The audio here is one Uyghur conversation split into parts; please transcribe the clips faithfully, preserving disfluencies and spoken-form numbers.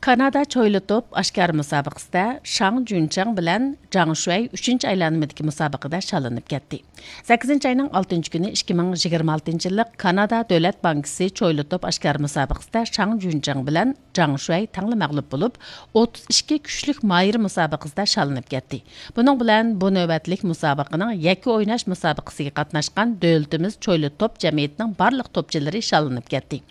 كانادا چويلا توپ ئاشكارا مۇسابىقىسىدە شاڭ جۈنچاڭ بىلەن جاڭ شۈەي ئۈچىنچى ئايلانمىدىكى مۇسابىقىدە شاللىنىپ كەتتى. سەككىزىنچى ئاينىڭ ئالتىنچى كۈنى ئىككى مىڭ يىگىرمە ئالتىنچى يىللىق كانادا دۆلەت بانكىسى چويلا توپ ئاشكارا مۇسابىقىسىدە شاڭ جۈنچاڭ بىلەن جاڭ شۈەي تەڭلا مەغلۇپ بولۇپ، ئوتتۇز ئىككى كۈچلۈك ماھىر مۇسابىقىسىدە شاللىنىپ كەتتى. بۇنىڭ بىلەن بۇ نۆۋەتلىك مۇسابىقىنىڭ يەككە ئويناش مۇسابىقىسىگە قاتناشقان دۆلىتىمىز چويلا توپ جەمئىيىتىنىڭ بارلىق توپچىلىرى شاللىنىپ كەتتى.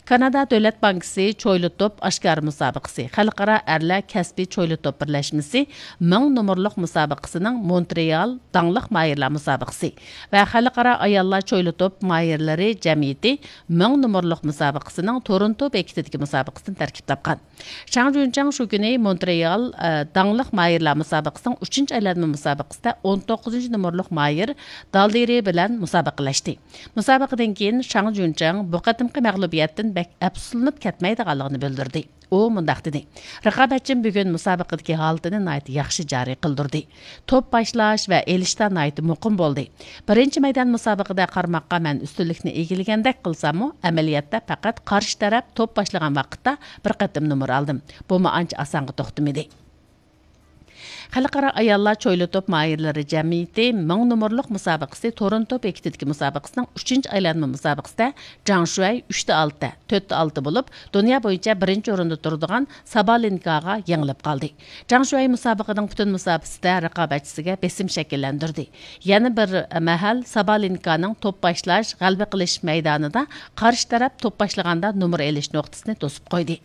كانادا دۆلەت بانكىسى چويلا توپ ئاشكارا مۇسابىقىسى، خەلقئارا ئەرلەر كەسپىي چويلا توپ بىرلەشمىسى مىڭ نومۇرلۇق مۇسابىقىسىنىڭ مونترېئال داڭلىق ماھىرلار مۇسابىقىسى ۋە خەلقئارا ئاياللار چويلا توپ ماھىرلىرى جەمئىيىتى مىڭ نومۇرلۇق مۇسابىقىسىنىڭ تورونتو بېكىتىدىكى مۇسابىقىسىدىن تەركىب تاپقان. شاڭ جۈنچاڭ شۇ كۈنى مونترېئال، ئە، داڭلىق ماھىرلار مۇسابىقىسىنىڭ ئۈچىنچى ئايلانما مۇسابىقىسىدە ئون توققۇزىنچى نومۇرلۇق ماھىر دالدىرى بىلەن مۇسابىقىلەشتى. مۇسابىقىدىن كېيىن شاڭ جۈنچاڭ بۇ قېتىمقى مەغلۇبىيەتتىن بەك ئەپسۇسلىنىپ كەتمەيدىغانلىقىنى بىلدۈردى. ئۇ مۇنداق دېدى: «رىقابەتچىم بۈگۈن مۇسابىقىدىكى ھالىتىنى ناھايىتى ياخشى جارى قىلدۇردى. توپ باشلاش ۋە ئېلىشتا ناھايىتى مۇقىم بولدى. بىرىنچى مەيدان مۇسابىقىدە قارىماققا مەن ئۈستۈنلۈكنى ئىگىلىگەندەك قىلساممۇ، ئەمەلىيەتتە پەقەت قارشى تەرەپ توپ باشلىغان ۋاقىتتا بىر قېتىم نومۇر ئالدىم. بۇمۇ ئانچە ئاسانغا توختىمىدى.» خەلقئارا ئاياللار چويلا توپ ماھىرلىرى جەمئىيىتى مىڭ نومۇرلۇق مۇسابىقىسى تورونتو بېكىتىدىكى مۇسابىقىسىنىڭ ئۈچىنچى ئايلانما مۇسابىقىسىدە جاڭ شۈەي ئۈچتە ئالتە، تۆتتە ئالتە بولۇپ، دۇنيا بويىچە بىرىنچى ئورۇندا تۇرىدىغان سابالېنكاغا يېڭىلىپ قالدى. جاڭ شۈەي مۇسابىقىنىڭ پۈتۈن مۇسابىقىسىدە رىقابەتچىسىگە بېسىم شەكىللەندۈردى. يەنە بىر مەھەل سابالېنكانىڭ توپ باشلاش، غەلىبە قىلىش مەيدانىدا قارشى تەرەپ توپ باشلىغاندا نومۇر ئېلىش نۇقتىسىنى توسۇپ قويدى.